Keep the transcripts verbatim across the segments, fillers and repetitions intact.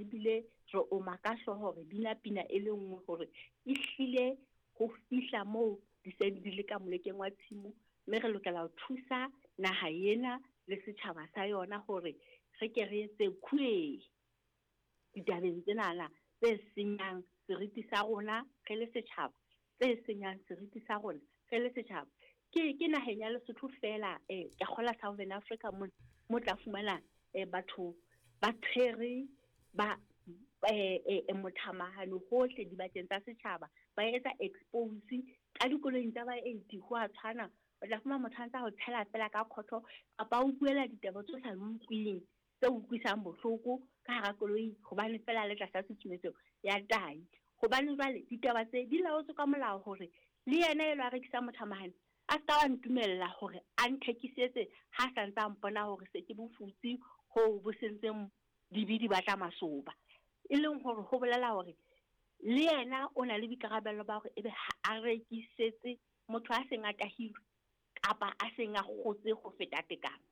re bile re oma ka hlooho, re bina pina e le nngwe hore ehlile ho fihla moo di se di le ka molekeng wa tshimo, mme re lokela ho thusa naha ena le setjhaba sa yona hore re ke re etse khuee ditabeng tsenana tse senyang seriti sa rona re le setjhaba, tse senyang seriti sa rona re le setjhaba. Ke, ke naheng ya Lesotho feela, eh, ke kgola Southern Africa mo, mo tla fumana, eh, batho ba tshwere ba, eh, eh, mothamahano hohle dibakeng tsa setjhaba, ba etsa expose ka dikoloing tsa baeti ho a tshwana. O tla fumana motho a ntsa ho tshela fela ka khotho kapa o buela ditaba tse sa utlwileng, tse utlwisang bohloko ka hara koloi hobane fela le tlasa tshusumetso ya tahi. Hobane jwale ditaba tse di laotswe ka molao hore le yena elo a rekisang mothamahane a ska wa ntumella hore a nthekisetse ha sa ntsa mpona hore se ke bofutsi ho bo sentseng dibi di batla masoba. E leng hore ho bolela hore le yena o na le boikarabelo ba hore ebe ha a rekisetse motho a seng a tahilwe kapa a seng a kgotse ho feta tekano.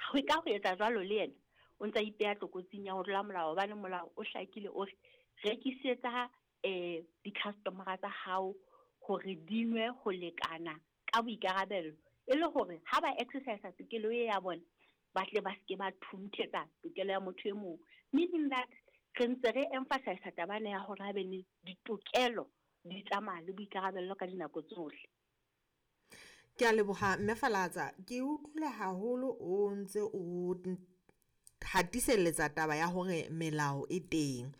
Ho ka ho etsa jwalo le yena o ntsa ipeha tlokotsing ya ho tlola molao, hobane molao o hlakile o re rekisetsa, eh, di-customer-a tsa hao hore di nwe ho lekana ka boikarabelo, e le hore ha ba exercise tokelo e ya bona ba tle ba seke ba thunthetsa tokelo ya motho e mong. Meaning that re ntse re emphasize taba ena ya hore ha be le ditokelo di tsamaya le boikarabelo ka dinako tsohle. Ke a leboha Mme Falatsa, ke utlwile haholo o ntse o hatiselletsa taba ya hore melao e teng.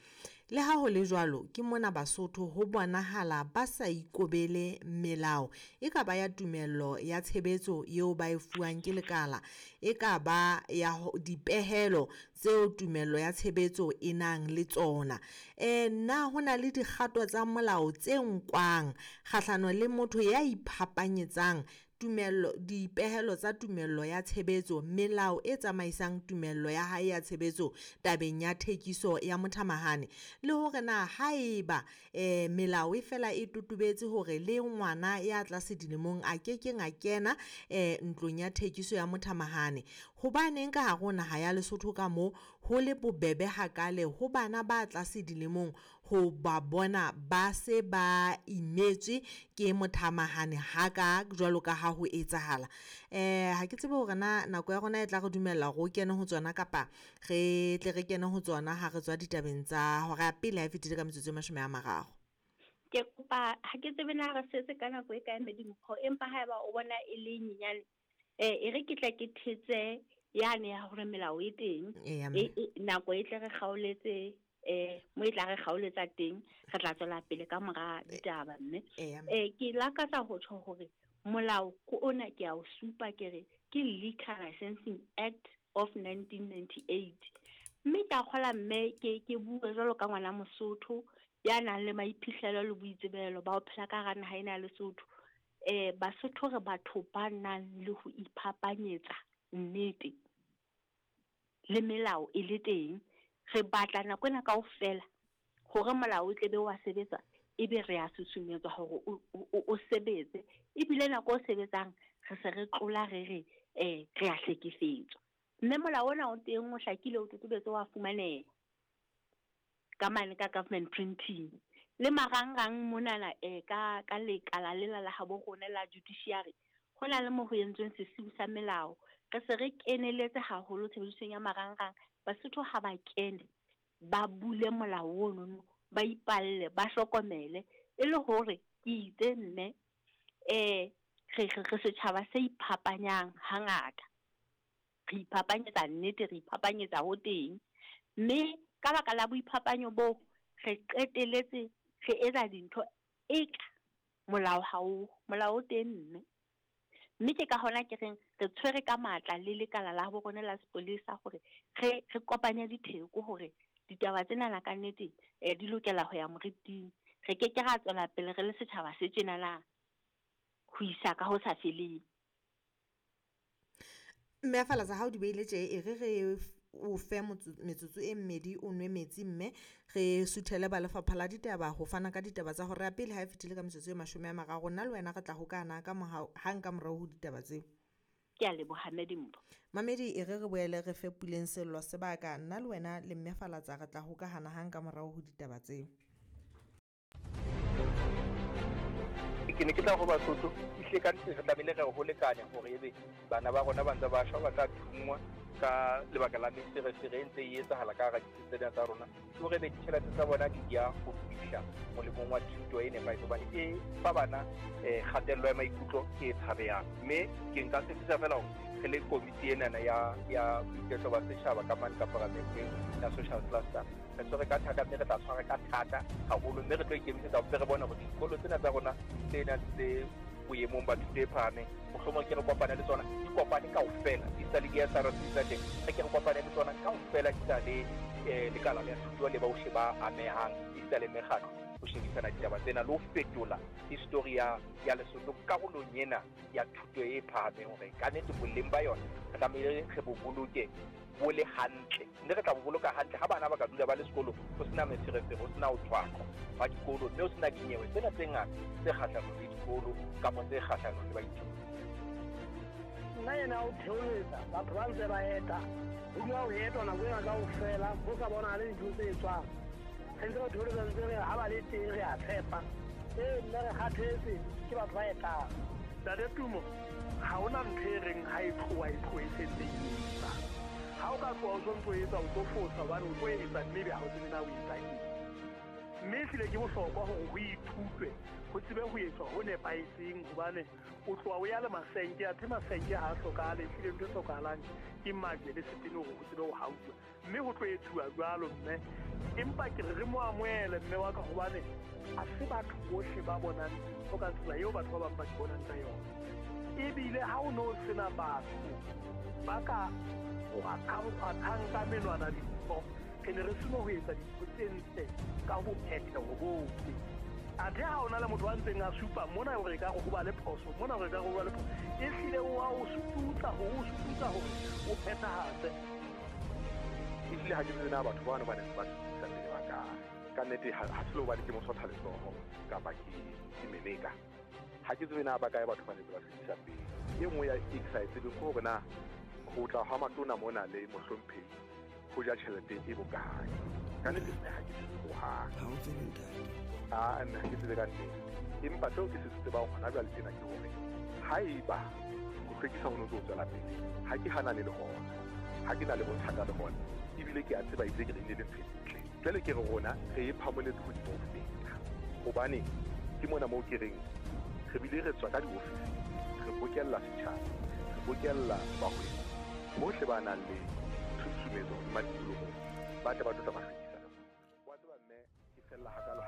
Le ha ho le jwalo, ke mona Basotho ho bonahala ba sa ikobele melao e ka ba ya tumello ya tshebetso eo ba e fuwang ke lekala, e ka ba ya ho, dipehelo tseo tumello ya tshebetso e nang le tsona. Eh, na ho na le dikgato tsa molao tse nkwang kgahlano le motho ya iphapanyetsang tumello, dipehelo tsa tumello ya tshebetso, melao e tsamaisang tumello ya hae ya tshebetso tabeng ya thekiso ya mothamahane, le hore na haeba, eh, melao e fela e totobetse hore le ngwana ya tlase dilemong a ke keng a kena, eh, ntlong ya thekiso ya mothamahane, hobaneng ka hare ho naha ya Lesotho ka moo ho le bobebe hakale ho bana ba tlase dilemong ho ba bona ba se ba imetswe ke mothamahane haka jwalo ka ha ho etsahala. Eh, ha ke tsebe hore na nako ya rona e tla re dumella hore o kene ho tsona kapa re tle re kene ho tsona ha re tswa ditabeng tsa hora ya pele ha e fetile ka metsotso e mashome a mararo. Ke kopa, ha ke tsebe na re setse ka nako e kae Medimpho, empa haeba o bona e le nyenyane, eh, e re ke tla ke thetse yane ya hore melao e teng. Eya, mme. E, e, nako e tle re kgaoletse, eh, mo e tla re kgaoletsa teng, re tla tswela pele ka mora ditaba, mme. Eya, mme. Eh, ke lakatsa ho tjho hore molao ko ona ke a o supa ke re ke Liquor Licensing Act of nineteen ninety-eight. Mme ke a kgola mme ke, ke bue jwalo ka ngwana Mosotho ya nang le maiphihlelo le boitsebelo ba ho phela ka hara naha ena ya Lesotho. Eh, Basotho re batho ba nang le ho iphapanyetsa nnete le melao e le teng. Re batla nako ena kaofela hore molao o tle be wa sebetsa, ebe re a susumetswa hore o, o, o, o sebetse. Ebile nako o sebetsang re se re tlola re re, eh, re a hlekefetswa. Mme molao ona o teng o hlakile, o totobetse, wa fumaneha ka mane ka government printing. Le marangrang monana, eh, ka, ka lekala lela la habo rona la judiciary, ho na le mo ho entsweng sesiu sa melao. Re se re keneletse haholo tshebedisong ya marangrang. Basotho ha ba kene, ba bule molao ono, ba ipalle, ba hlokomele, e le hore ke itse mme, eh, re, re, re setjhaba se iphapanyang hangata. Re iphapanyetsa nnete, re iphapanyetsa ho teng. Mme ka baka la boiphapanyo bo, re qeteletse re etsa dintho eka molao ha o, molao o teng mme. Mme ke ka hona ke reng re tshwere ka matla le lekala la bo rona la sepolesa hore re, re kopanye ditheko hore ditaba tsena ka nnete, eh, di lokela ho ya moriting. Re ke ke ra tswela pele re le setjhaba se tjenana ho isa ka ho sa feleng. Mme Falatsa, ha o di beile tje, e re re o fe motso-, metsotso e mmedi o nwe metsi, mme re suthele ba lefapha la ditaba ho fana ka ditaba tsa hora ya pele ha e fetile ka metsotso e mashome a mararo. Nna le wena re tla hokana ka mohau, hang ka morao ho ditaba tseo. Ke a leboha Mme Dimpho. Mamedi, e re re boele re fe Puleng Sello sebaka, nna le wena le Mme Falatsa re tla hokahana hang ka morao ho ditaba tseo. Ke ne ke tla ho Basotho, ehlile ka nnete re tlamehile re ho lekane hore ebe bana ba rona ba ntse ba shwa, ba tla thunngwa ka lebaka la meferefere e ntse e etsahala ka hara ditsi tsena tsa rona. Ke hore ebe ditjhelete tsa bona di ya ho fihla molemong wa thuto e nepahetseng, hobane e fa bana eh, kgatello ya maikutlo e tshabehang. Mme ke nka tshepisa feela hore re le komiti enana ya, ya boiketlo ba setjhaba ka mane ka paramenteng ya social cluster, re tshwere ka thata, mme re tla tshwara ka thata haholo, mme re tlo ikemisetsa ho re bone hore dikolo tsena tsa rona tse nang tse boemong ba thuto e phahameng, mohlomong ke re kopane le tsona, di kopane kaofela, di sa le di S R C tsa teng, re ke re kopane le tsona kaofela, di sa le eh, lekala la thuto le bohle ba amehang, di sa le mekgatlo, ho shebisana ditaba tsena le ho fetola history ya, ya Lesotho karolong ena ya thuto e phahameng, hore ka nnete boleng ba yona re tlamehile re bo boloke bo le hantle, mme re tla bo boloka hantle ha bana ba ka dula ba le sekolo, ho sena meferefere, ho sena ho thwaqwa ba dikolo, mme ho sena dinyewe tsena tse ngata tse kgahlanong le dikolo kapa tse kgahlanong le baithuti. Nna ena o theoletsa batho ba ntse ba eta, ho dula ho etwa nako ena kaofela, ho sa bonahale dintho tse etswang. Re ntse re theoletsa ntse re ha ba le teng re a tshepa. Ee, nna re kgathetse ke batho ba etang. Ntate Tumo, ha hona ntho e reng ha e tloha e tloha e sentse e etsa. Ha o ka tloha o sontso o etsa, o tlo fosa hobane o tlo etsa mme ebe ha o tsebe na o etsa eng. Mme ehlile ke bohlokwa hore ho ithutwe, ho tsebe ho etswa ho nepahetseng, hobane o tloha o ya le masenke, athe masenke ha a hlokahale, ehlile ntho e hlokahalang ke majwe le setene hore ho tsebe ho hauwa. Mme ho tlo etsuwa jwalo mme, empa ke re re mo amohele mme wa ka, hobane ha se batho bohle ba bonang dintho ka tsela eo batho ba bang ba di bonang ka yona. Ebile ha o no sena batho ba ka kgwathang ka menwana dintho, re ne re seno ho etsa dintho tse ntle ka ho phetheho bohle. Athe ha ona le motho a ntseng a supa mona hore ekare ho ba le phoso, mona hore ekare ho ba le phoso, ehlile o a o sututsa hore o sututsa hore o phethahatse. Ehlile ha ke tsebe na batho bano ba neng ba sutusa pele ba kae. Ka nnete ha se le hobane ke mosotha letsoho kapa ke, ke meleka. Ha ke tsebe na ba kae batho ba neng ba sutusa pele. E nngwe ya e ke sa e tsebeng ke hore na ho tla ha matona mona le mohlomphehi ho ja tjhelete e bokae. Ka nnete nna ha ke tsebe hohang. Ha o tsebe ntate? Ah, nna ha ke tsebe ka nnete. Empa seo ke se tsebang hona jwale tjena ke hore haeba ho hlwekisa ho no tlo tswela pele, ha ke hanane le hona, ha ke na le bothata le hona, ebile ke a tseba ebile ke re ne le ntho e ntle. Jwale ke re rona re e phamoletse hodimo ho feta, hobane ke mona moo ke reng re bile re tswa ka diofising, re bokella setjhaba, re bokella bahwebi bohle ba nang le tshusumetso hodima tikoloho, ba tle ba tlo tla ba hlwekisa. Wa tseba mme, ke fella hakalo.